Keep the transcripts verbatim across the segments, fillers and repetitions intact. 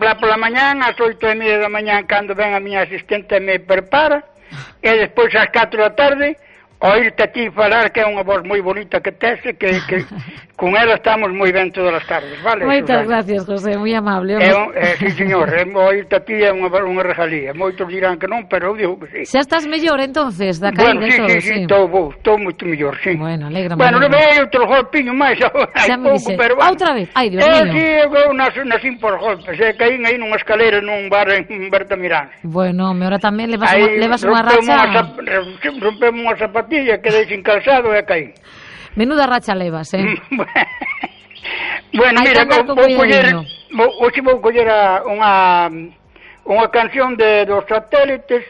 lá pola mañán, ás oito e media da mañán, cando ven a miña asistente me prepara, e despois ás catro da tarde, oírte a ti falar, que é unha voz moi bonita que tes, que, que con ela estamos moi ben todas as tardes, vale? Moitas gracias, José, moi amable. É un, eh, sí, señor, é, oírte a ti é unha, unha regalía. Moitos dirán que non, pero eu digo que sí. Xa estás mellor, entonces, da Bueno, caída sí, todo, sí, sí, estou bo, estou moito mellor, sí. Bueno, alegra-me. Bueno, non vei outro golpiño máis, hai pouco, pero... Ah, outra vez? Ai, Dios eh, mío. Sí, eu nas, nasín por golpes, eh, caín aí nunha escalera nun bar en Bertamirán. Bueno, me ahora tamén levas unha, levas unha racha... Rompemos unha zapatilla, quedei sin calzado e caí. Menuda racha levas, eh? Bueno, mira, vou, vou coller, vou, hoxe vou coller a, unha, unha canción de dos Satélites,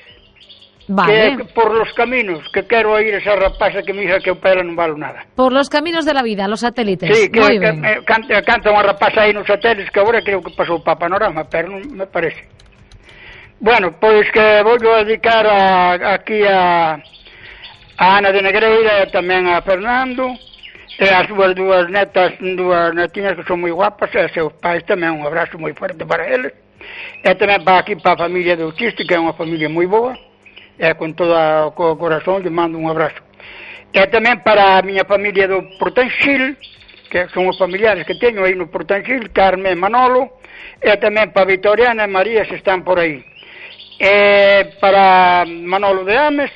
vale. Que é Por los caminos, que quero oír esa rapaza que me dixa que o pelo non vale nada. Por los caminos de la vida, los Satélites. Sí, que, Muy que ben. eh, canta, canta unha rapaza aí nos Satélites que agora creo que pasou para Panorama, pero non me parece. Bueno, pois que vou a dedicar a, aquí a... a Ana de Negreira e tamén a Fernando e as súas dúas netas, dúas netiñas que son moi guapas e seus pais tamén, un abrazo moi forte para eles e tamén para aquí para a familia de Uchiste, que é unha familia moi boa e con todo o corazón lle mando un abrazo e tamén para a miña familia do Portanxil, que son os familiares que teño aí no Portanxil, Carmen e Manolo, e tamén para Vitoriana e María se están por aí, e para Manolo de Ames,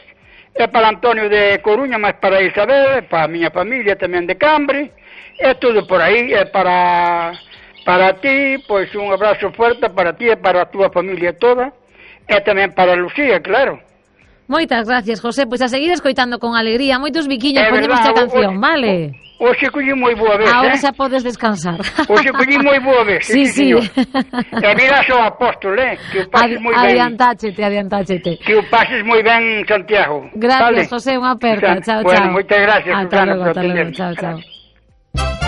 e para Antonio de Coruña, máis para Isabel, e para a miña familia tamén de Cambre, e tudo por aí, e para para ti, pois un abrazo forte para ti e para a túa familia toda, e tamén para Lucía, claro. Moitas gracias, José, pois a seguir escoitando con alegría, moitos biquiños, ponemos a canción, o, vale? Hoxe collí moi boa vez, ahora eh? xa podes descansar. Hoxe collí moi boa vez, sí, sí. sí. E mira xo apóstol, eh? Que o pases moi ben. Adiantáchete, adiantáchete. Que o pases moi ben, Santiago. Gracias, vale? José, unha aperta, chao, bueno, chao. Moitas gracias, Ata Susana, logo, por ata logo, atender. chao, chao.